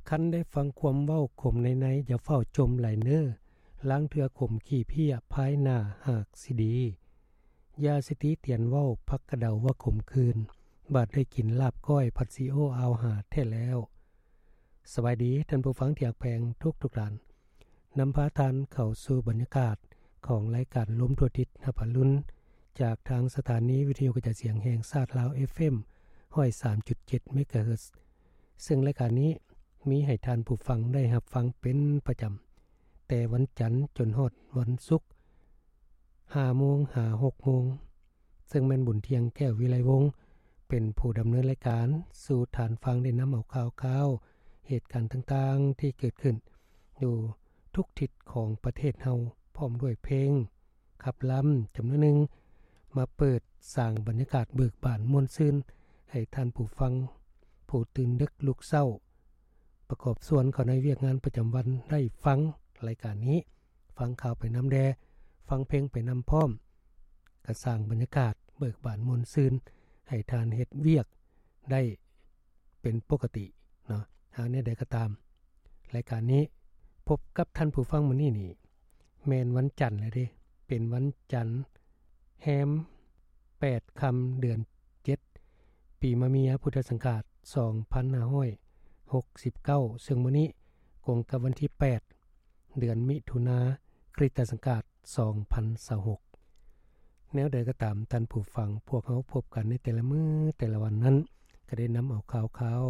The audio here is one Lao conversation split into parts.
ຄັນໄດ້ຟັງຄວາມເວົ້າຂົມໃນໃນ ຢ່າຟ້າວຈົ່ມໄຫຼເນີ. ລາງເທື່ອຂົມຂີ້ເພຍ ພາຍໜ້າຫາກຊິດີ. ຢາສະຕິຕຽນເວົ້າ ຜັກກະເດົາວ່າຂົມຂືນ, ບາດໄດ້ກິນລາບກ້ອຍ ຜັດຊີໂອອາວຫາແທ້ແລ້ວ. ສະບາຍດີທ່ານຜູ້ຟັງທີ່ຮັກແພງທຸກໆທ່ານ. ນຳພາທ່ານເຂົ້າສູ່ບັນຍາກາດຂອງລາຍການລົມທົ່ວທິດຮັບອະລຸນ ຈາກທາງສະຖານີວິທະຍຸກະຈາຍສຽງແຫ່ງຊາດລາວ ເອຟເອັມ ຮ້ອຍສາມຈຸດເຈັດ ເມກາເຮີດ. ເຊິ່ງລາຍການນີ້ມີໃຫ້ທ່ານຜູ້ຟັງໄດ້ຮັບຟັງເປັນປະຈຳ ແຕ່ວັນຈັນຈົນຮອດວັນສຸກ ຫ້າໂມງຫາຫົກໂມງ. ເຊິ່ງແມ່ນບຸນທ່ຽງ ແກ້ວວິໄລວົງ ເປັນຜູ້ດຳເນີນລາຍການ ສູ່ທ່ານຟັງໄດ້ນຳເອົາຂ່າວຄາວ ເຫດການຕ່າງໆທີ່ເກີດຂຶ້ນຢູ່ທຸກທິດຂອງປະເທດເຮົາ ພ້ອມດ້ວຍເພງຂັບລຳຈຳນວນໜຶ່ງ ມາເປີດສ້າງບັນຍາກາດເບີກບານມ່ວນຊື່ນ ໃຫ້ທ່ານຜູ້ຟັງຜູ້ຕື່ນດຶກລຸກເຊົ້າ ປະກອບສ່ວນເຂົ້າໃນວຽກງານປະຈຳວັນໄດ້ຟັງລາຍການນີ້, ຟັງຂ່າວໄປນຳແດ່, ຟັງເພງໄປນຳພ້ອມ, ກະສ້າງບັນຍາກາດເບີກບານມ່ວນຊື່ນ ໃຫ້ທ່ານເຮັດວຽກໄດ້ເປັນປົກກະຕິເນາະ. ຫາກແນວໃດກໍຕາມ, ລາຍການນີ້ພົບກັບທ່ານຜູ້ຟັງມື້ນີ້ນີ້ ແມ່ນວັນຈັນແລ້ວເດ້, ເປັນວັນຈັນແຮມແປດຄ່ຳເດືອນເຈັດ ປີມະເມຍ ພຸດທະສັງຂາດສອງພັນຫ້າຮ້ອຍຫົກສິບເກົ້າ ເຊິ່ງມື້ນີ້ກົງກັບວັນທີແປດ ເດືອນມິຖຸນາ ຄຣິສຕະສັງຂາດສອງພັນຊາວຫົກ. ແນວໃດກໍຕາມທ່ານຜູ້ຟັງ, ພວກເຮົາພົບກັນໃນແຕ່ລະມື້ແຕ່ລະວັນນັ້ນ ກໍໄດ້ນຳເອົາຂ່າວຄາວ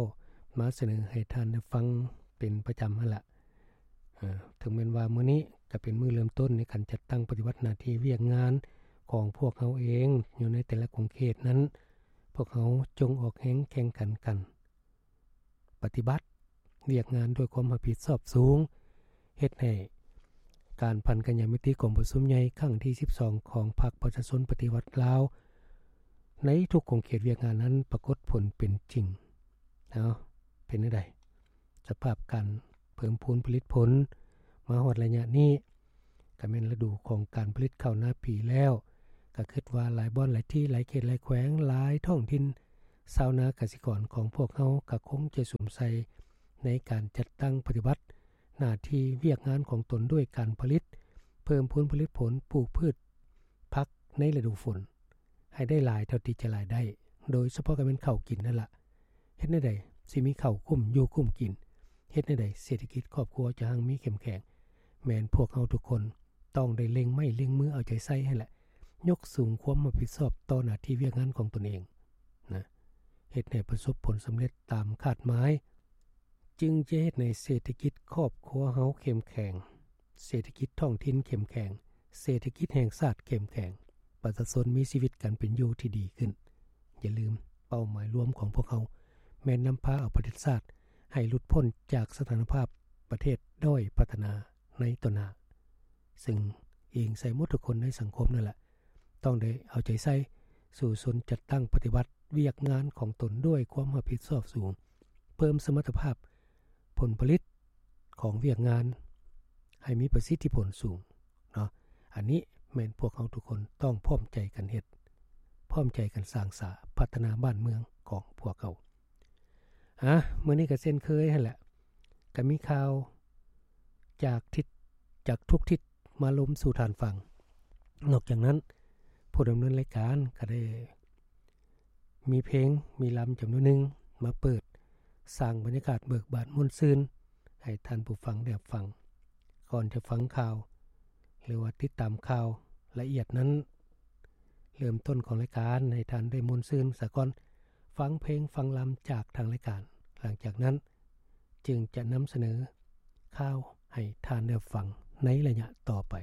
ມາສະເໜີໃຫ້ທ່ານໄດ້ຟັງເປັນປະຈຳຫັ້ນລະ. ເອີ ເຖິງແມ່ນວ່າມື້ນີ້ກໍເປັນມື້ເລີ່ມຕົ້ນໃນການຈັດຕັ້ງປະຕິບັດໜ້າທີ່ວຽກງານຂອງພວກເຮົາເອງ ຢູ່ໃນແຕ່ລະຂົງເຂດນັ້ນ, ພວກເຮົາຈົ່ງອອກແຮງແຂ່ງຂັນກັນ ປະຕິບັດວຽກງານດ້ວຍຄວາມຮັບຜິດຊອບສູງ, ເຮັດໃຫ້ການພັນກັນຍາມິຕິກອງປະຊຸມໃຫຍ່ຄັ້ງທີສິບສອງຂອງພັກປະຊາຊົນປະຕິວັດລາວ ໃນທຸກຂົງເຂດວຽກງານນັ້ນປາກົດຜົນເປັນຈິງ. ເອົາ ເປັນແນວໃດ? ສະພາບການເພີ່ມພູນຜະລິດຜົນມາຮອດໄລຍະນີ້ ກໍແມ່ນລະດູຂອງການຜະລິດເຂົ້ານາປີແລ້ວ, ກໍຄິດວ່າຫຼາຍບ່ອນ, ຫຼາຍທີ່, ຫຼາຍເຂດ, ຫຼາຍແຂວງ, ຫຼາຍທ້ອງຖິ່ນ, ຊາວນາກະສິກອນຂອງພວກເຮົາກໍຄົງຈະສຸມໃສ່ໃນການຈັດຕັ້ງປະຕິບັດໜ້າທີ່ວຽກງານຂອງຕົນດ້ວຍການຜະລິດ, ເພີ່ມພູນຜະລິດຜົນ, ປູກພືດຜັກໃນລະດູຝົນ ໃຫ້ໄດ້ຫຼາຍເທົ່າທີ່ຈະຫຼາຍໄດ້, ໂດຍສະເພາະກໍແມ່ນເຂົ້າກິນນັ້ນລະ. ເຮັດແນວໃດຊິມີເຂົ້າກຸ້ມຢູ່ກຸ້ມກິນ? ເຮັດແນວໃດເສດຖະກິດຄອບຄົວຈະຮັ່ງມີເຂັ້ມແຂງ? ແມ່ນພວກເຮົາທຸກຄົນຕ້ອງໄດ້ເລັ່ງໄມ້ເລັ່ງມືເອົາໃຈໃສ່ຫັ້ນແຫຼະ, ຍົກສູງຄວາມຮັບຜິດຊອບຕໍ່ໜ້າທີ່ວຽກງານຂອງຕົນເອງນະ, ເຮັດໃຫ້ປະສົບຜົນສຳເລັດຕາມຄາດໝາຍ, ຈຶ່ງຈະເຮັດໃຫ້ເສດຖະກິດຄອບຄົວເຮົາເຂັ້ມແຂງ, ເສດຖະກິດທ້ອງຖິ່ນເຂັ້ມແຂງ, ເສດຖະກິດແຫ່ງຊາດເຂັ້ມແຂງ, ປະຊາຊົນມີຊີວິດການເປັນຢູ່ທີ່ດີຂຶ້ນ. ຢ່າລືມ, ເປົ້າໝາຍລວມຂອງພວກເຮົາແມ່ນນຳພາເອົາປະເທດຊາດໃຫ້ຫຼຸດພົ້ນຈາກສະຖານະພາບປະເທດດ້ອຍພັດທະນາໃນຕໍ່ໜ້າ, ເຊິ່ງອີງໃສ່ໝົດທຸກຄົນໃນສັງຄົມນັ້ນລະ ຕ້ອງໄດ້ເອົາໃຈໃສ່ສູ້ຊົນຈັດຕັ້ງປະຕິບັດວຽກງານຂອງຕົນດ້ວຍຄວາມຮັບຜິດຊອບສູງ, ເພີ່ມສະມັດຕະພາບຜົນຜະລິດຂອງວຽກງານໃຫ້ມີປະສິດທິຜົນສູງເນາະ. ອັນນີ້ແມ່ນພວກເຮົາທຸກຄົນຕ້ອງພ້ອມໃຈກັນເຮັດ, ພ້ອມໃຈກັນສ້າງສາພັດທະນາບ້ານເມືອງຂອງພວກເຮົາ. ອາ ມື້ນີ້ກໍເຊັ່ນເຄີຍຫັ້ນແຫຼະ, ກໍມີຂ່າວຈາກທິດ, ຈາກທຸກທິດມາລົມສູ່ທ່ານຟັງ. ນອກຈາກນັ້ນ, ຜູ້ດຳເນີນລາຍການກໍໄດ້ມີເພງ, ມີລຳຈຳນວນໜຶ່ງມາເປີດສ້າງບັນຍາກາດເບີກບານມ່ວນຊື່ນໃຫ້ທ່ານຜູ້ຟັງໄດ້ຮັບຟັງ. ກ່ອນຈະຟັງຂ່າວ ຫຼືວ່າຕິດຕາມຂ່າວລະອຽດນັ້ນ, ເລີ່ມຕົ້ນຂອງລາຍການໃຫ້ທ່ານໄດ້ມ່ວນຊື່ນສາກ່ອນ, ຟັງເພງຟັງລຳຈາກທາງລາຍການ. ຫຼັງຈາກນັ້ນຈຶ່ງຈະນຳສະເໜີຂ່າວໃຫ້ທ່ານໄດ້ຟັງໃນໄລຍະຕໍ່ໄປ.